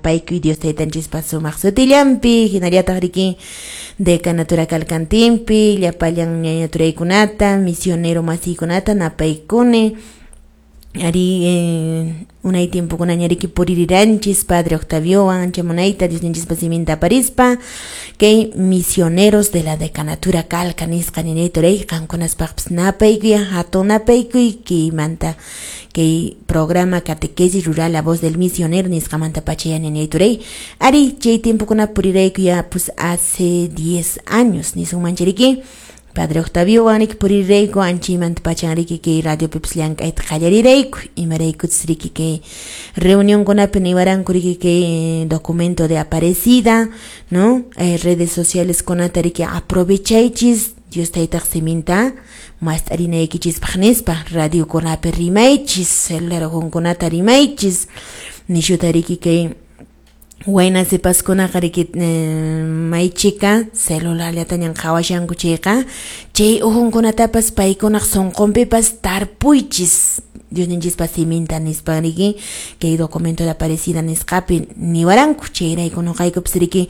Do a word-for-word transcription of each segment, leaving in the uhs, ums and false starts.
Napaykuy Dios taytanchispa sumaq sutillanpi, hinallataq riki decanatura Calcantinpi, llapallan ñaña turaykunata, misionero masiykunata napaykuni. Ari eh, unay tiempokunaña riki puririranchis Padre Octaviowan ancha munayta Diosninchispa siminta aparispa kay misioneros de la decanatura Calca nisqa ñañay turay qankunaspaqpis napaykuy hatun napaykuy kaymanta kay programa catequesis rural La Voz del Misionero nisqamanta pacha ñañay turay ari chay tiempokuna purirayku ya pues hace diez años nisunman riki Padre Octavio riki purirayku anchaymanta pachan riki kay radiopipis llank'ayta qallarirayku imaraykuchus riki kay reunionkunapi niwaranku riki kay documento de Aparecida, no, eh, redes sociales kunata riki aprovechaychis Dios taytaq siminta mast'arinaykichispaq nispa radiokunapi rimaychis celular kunata rimaychis nishuta riki kay wayna sipaskunaqa riki eh, maychika celularllatañan qhawashanku chayqa chay uhunkunatapas paykunaq sunqunpipas tarpuychis Diosninchispa siminta nispa riki kay documento de Aparecida nisqapi niwaranku chayrayku nuqaykupis riki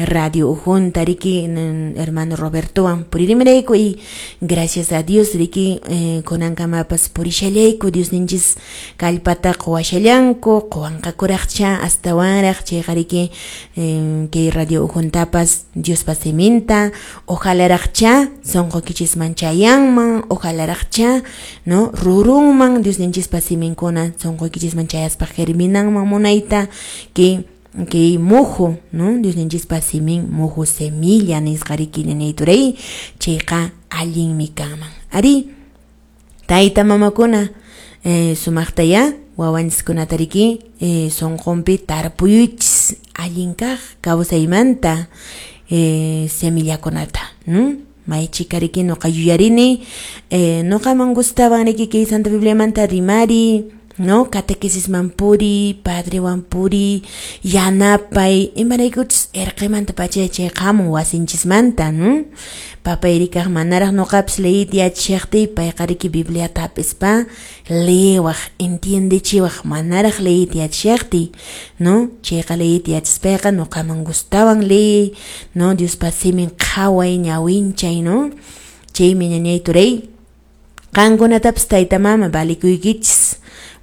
radio uhunta riki hermano Robertowan puririmirayku y gracias a Dios riki eh, kunankamapas purishallayku Diosninchis kallpata quwashallanku quwanqakuraqcha astawanraq chayqa riki eh, kay radio uhuntapas Diospa siminta ojalaraqcha sunquykichisman chayanman ojalaraqcha no rurunman Diosninchispa siminkuna sunquykichisman chayaspa germinanman munayta kay kay muhu, no, Diosninchispa simin muhu semilla nisqa riki ñañay turay chayqa allinmi kanman ari tayta mamakuna eh, sumaqtaya wawanchiskunata riki eh, sunqunpi tarpuyuychis allin kaq kawsaymanta eh, semillakunata, no? Maychika riki nuqa yuyarini eh, nuqaman gustaban riki kay Santa Bibliamanta rimari, no, catequesisman puri, padrewan puri, yanapay, imaraykuchus erqemanta pacha chay qamun wasinchismanta, no? Papay rikaq manaraq nuqapis leyita yachashaqtiy payqa riki Bibliata hap'ispa leewaq, entiendechiwaq manaraq leyita yachashaqtiy, no? Chayqa leyita yachaspayqa nuqaman gustawan leey, no? Diospa simin qhaway ñawinchay, no? Chaymi ñañay turay qankunatapas tayta mama valikuykichis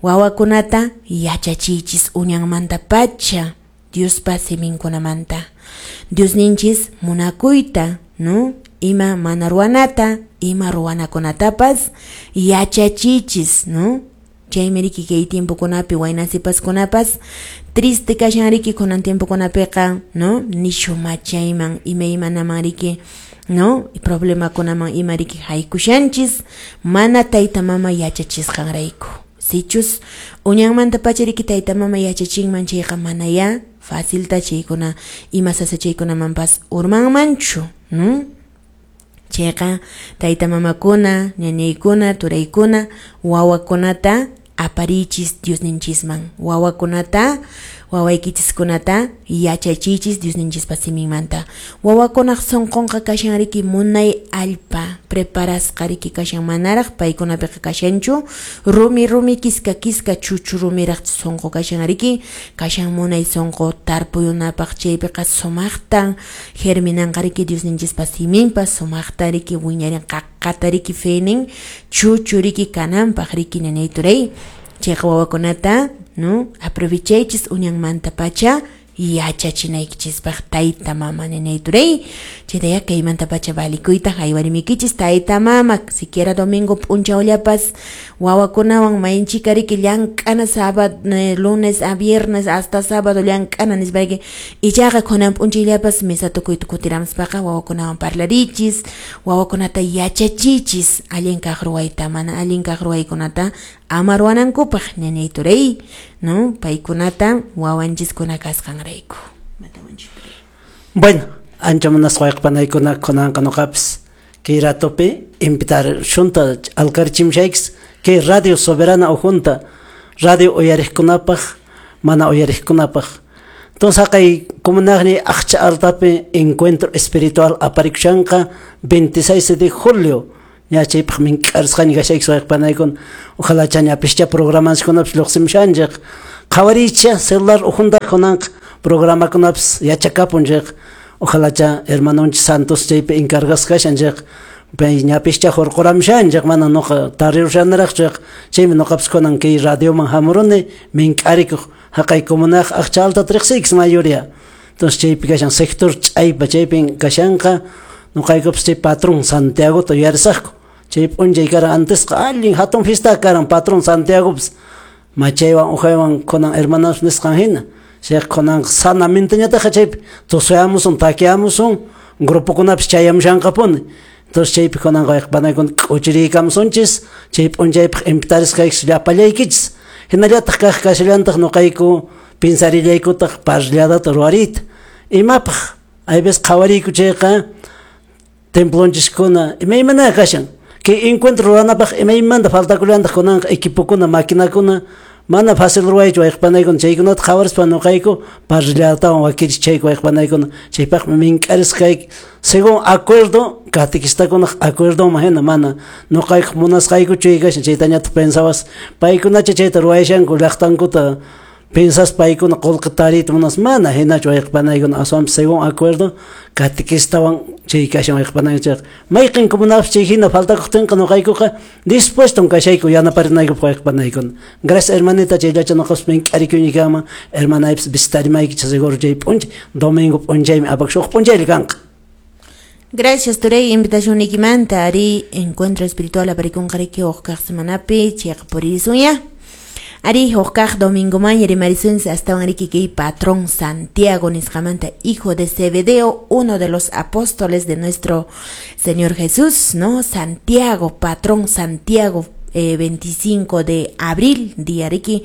wawakunata yachachiychis uñanmanta pacha Diospa siminkunamanta Diosninchis munakuyta, no, ima mana ruwanata ima ruwanakunatapas yachachiychis, no? Chaymi riki kay tiempokunapi wayna sipaskunapas triste kashan riki kunan tiempokunapiqa, no, nishu machayman imaymanaman riki, no, problemakunaman ima riki haykushanchis mana tayta mama yachachisqanrayku. Sichus uñanmanta pacha riki tayta mama yachachinman chayqa manaya facilta chaykuna ima sasachaykunamanpas urmanmanchu, no? Chayqa tayta mamakuna, ñañaykuna, turaykuna wawakunata aparichis Diosninchisman, wawakunata wawaykichiskunata yachachiychis Diosninchispa siminmanta. Wawakunaq sunqunqa kashan riki munay allpa preparasqa riki kashan manaraq paykunapiqa kashanchu rumi rumi kiska kiska chuchu rumiraq sunqu kashan riki kashan munay sunqu tarpuyunapaq chaypiqa sumaqta germinanqa riki Diosninchispa siminpas sumaqta riki wiñarin qaqqata riki fenin chuchu riki kananpaq riki ñañay turay chayqa wawakunata, no, aprovechaychis uñanmanta pacha yachachinaykichispaq tayta mama ñañay turay chaytaya kaymanta pacha valikuyta haywarimikichis tayta mama siquiera domingo p'unchawllapas wawakunawan maynchika riki llank'ana sábado lunes a viernes hasta sábado llank'ana nispayki ichaqa kunan p'unchayllapas misa tukuyta kutiramuspaqa wawakunawan parlarichis wawakunata yachachichis allin kaq ruwayta mana allin kaq ruwaykunata ama ruwanankupaq ñañay turay, no, paykunata wawanchiskuna kasqanrayku. Bueno, ancha munasqa wayqipanaykuna kunanqa nuqapis kay ratopi invitar shunta alkarchimshaykis kay Radio Soberana ujunta radio uyariqkunapaq mana uyariqkunapaq. Entonces haqay comunaqni Aqcha Altapi encuentro espiritual aparikushanqa veintiséis de julio ña chaypaq mink'arisqaña kashaykis wayqipanaykuna ojalá chañapischa programanchikkunapis lluqsimushanchik Qhawaricha celular ukhunta kunanqa programakunapis yachakapun chayqa ojalá cha hermanonchis Santos chaypi encargasqa kashan chayqa pay ñapischa hurquramushan chayqa mana nuqa tarirushanaraq chayqa chaymi nuqapis kunan kay radioman hamuruni mink'arikuq haqay comunaq aqcha alta riqsiykish mayoría. Entonces chaypi kashan sector ch'aypa chaypin kashanqa nuqaykupis chay patrón Santiagota yuyarisaqku chay p'unchay karan antesqa allin hatun fiesta karan patrón Santiagopis machaywan uqaywan kunan hermanos nisqan hina chayqa kunanqa sanamenteñataqa chaypi tusuyamusun takiyamusun grupokunapis chayamushanqapuni. Entonces chaypi kunanqa wayqipanaykuna k'uchiriykamusunchis chay p'unchaypaq invitarisqaykichis llapallaykichis hinallataq kaq kashallantaq nuqayku pinsarillaykutaq parrilladata ruwariyta imapaq hay veces qhawariyku chayqa templonchiskuna imaymana kashan kay encuentro ruwanapaq imaymanta faltakullantaq kunanqa equipokuna maquinakuna mana fácil ruwaychu wayqipanaykuna chaykunata qhawarispa nuqayku parrillatawan wakichichayku wayqipanaykuna chaypaqmi mink'arisqayki según acuerdo catequistakunaq acuerdoman hina mana nuqaykuq munasqaykuchu kashan chaytañataq pensawas paykunacha chayta ruwayashanku llaqtankuta pensas paykuna qullqi tariyta munas mana hinachu wayqipanaykuna aswanpas según acuerdo catequistawan chay kashan wayqipanaykuna chayqa mayqin comunapis chay hina faltakuqtinqa nuqaykuqa dispuestom kashayku yanaparinaykupaq wayqipanaykuna. Gracias hermanita chayllacha nuqapis mink'arikuynikama hermanaypis visitarimaykichis seguro chay p'unchay domingo p'unchaymi apakusha huk p'unchaylla kanqa. Gracias turay invitación nikimanta ari encuentro espiritual aparikunqariki huk kaq semanapi chayqa puririsun. Ari huk domingo mañana rimaриsunchis astawan riki kay patrón Santiago nisqamanta, hijo de Zebedeo, uno de los apóstoles de nuestro Señor Jesús, ¿no? Santiago, patrón Santiago, eh, veinticinco de abril, día riki,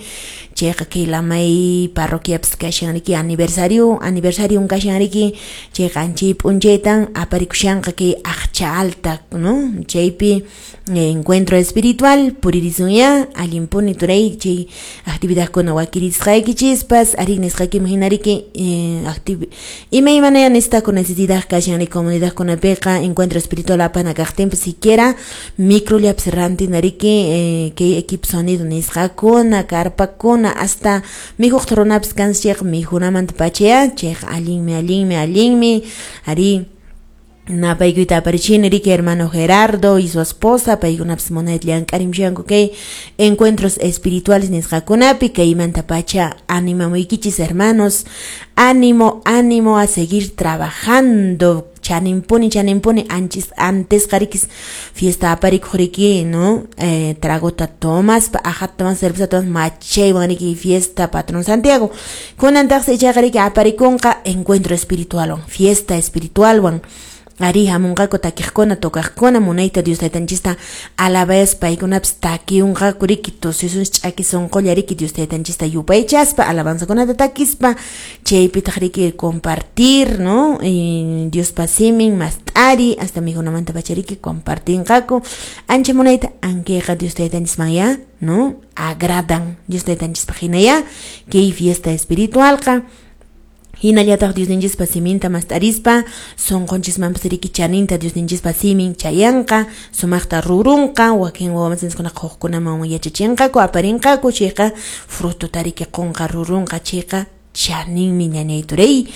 chayqa kay Lamay parroquiapis kashan riki aniversario, aniversario kashan riki, chayqa anchay p'unchaytan aparikushanqa kay aqcha alta, ¿no? Chaypi encuentro espiritual puririsunya allinpuni turay chay actividadkuna wakirisqaykichispas ari nisqaykiman hina riki eh, activ imaymanaya nistako necesidad kashan ri comunidadkunapiqa encuentro espiritual apana kaqtinpis siquiera microllapis rantina riki eh, kay equipo sonido nisqakuna carpakuna hasta mijuq runapis kanchis chayqa mijunamanta pachaya chayqa allinmi allinmi allinmi ari napaykuyta aparichini riki hermano Gerardo y su esposa paykunapis munayta llank'arimushanku kay encuentros espirituales nisqakunapi kaymanta pacha animamuykichis hermanos, ánimo, ánimo a seguir trabajando chaninpuni chaninpuni anchis antes qarikis fiesta aparikuq riki, ¿no? Eh, tragota tomaspa ajata tomas cerveza tomas machaywan riki fiesta patrón Santiago kunantaqsi ichaqa riki aparikunqa encuentro espiritualwan fiesta espiritualwan ari hamunqaku takiqkuna tocaqkuna munayta Dios taytanchista alabayaspa paykunapis takiunqaku riki tususun ch'aki sunqulla riki Dios taytanchista yupaychaspa alabanzakunata takispa chaypitaq riki compartir, ¿no? Y Diospa simin mast'ari hasta mijunamanta pacha riki compartinqaku ancha munayta ankayqa Dios taytanchisman ya, ¿no? Agradan Dios taytanchispaq hina ya kay fiesta espiritualqa hinallataq Diosninchispa siminta mast'arispa sunqunchismanpas riki chaninta Diosninchispa simin chayanqa sumaqta rurunqa wakin wawamasinchikkunaqa hukkunaman yachachinqaku aparinqaku chayqa frutota riki qunqa rurunqa chayqa chaninmi ñañay turay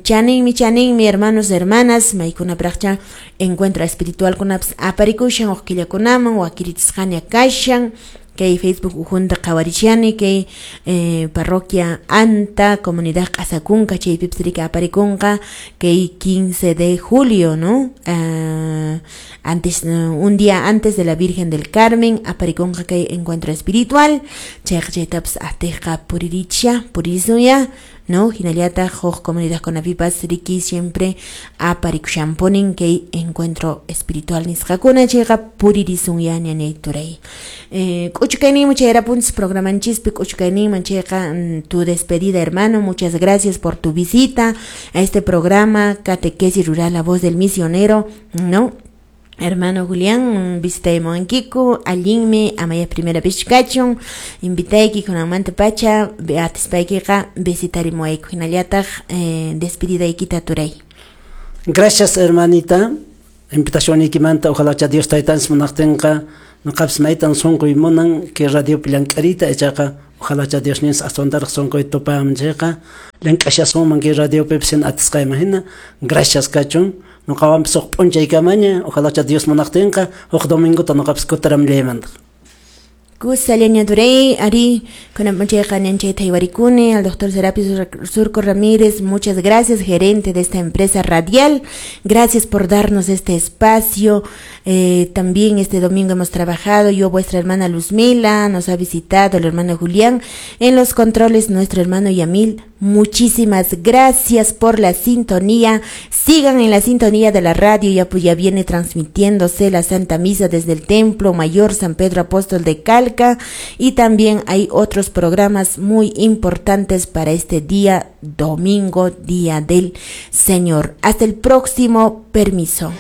chaninmi chaninmi hermanos hermanas maykunapraqcha encuentro espiritualkunapas aparikushan huk killakunaman wakirichisqaña kashan kay Facebook ukhunta qhawarishani kay eh, parroquia Anta comunidad Q'asakunka chaypipis riki aparikunqa kay quince de julio, ¿no? Uh, antes uh, un día antes de la Virgen del Carmen aparikunqa kay encuentro espiritual chayqa chaytapas atiqqa puriricha purisunya, ¿no? Hinallataq huk comunidadkunapipas riki siempre aparikushanpunin kay encuentro espiritual nisqakuna chayqa puririsun ya ñañay turay. Eh, k'uchukayninman chayarapunchis programanchispi k'uchukayninman chayqa tu despedida hermano, muchas gracias por tu visita a este programa Catequesis Rural La Voz del Misionero, ¿no? Hermano Julián, visitaymuwankiku, allinmi, amaya primera vez kachun, invitayki kunanmanta pacha, atispaykiqa visitarimuwayku hinallataq eh, despedidaykita turay. Gracias hermanita, invitacionykimanta, ojalá cha Dios taytanchis munaqtinqa Noqapis maytan sunquy munan kay radiopi llank'ariyta, ichaqa ojalacha Diosninchis aswantaraq sunquy tupaman chayqa llank'ashasunman kay radiopipis hina atisqayman hina. Gracias kachun. Noqawanpis huk p'unchaykamaña, ojalacha Dios munaqtinqa huk domingota noqapis kutiramllaymantaq. Kusa Turey, Ari, con al doctor Serapio Surco Ramírez, muchas gracias, gerente de esta empresa radial, gracias por darnos este espacio. Eh, también este domingo hemos trabajado, yo, vuestra hermana Luzmila, nos ha visitado el hermano Julián, en los controles nuestro hermano Yamil. Muchísimas gracias por la sintonía. Sigan en la sintonía de la radio, ya pues ya viene transmitiéndose la Santa Misa desde el Templo Mayor San Pedro Apóstol de Calca, y también hay otros programas muy importantes para este día domingo, Día del Señor. Hasta el próximo permiso.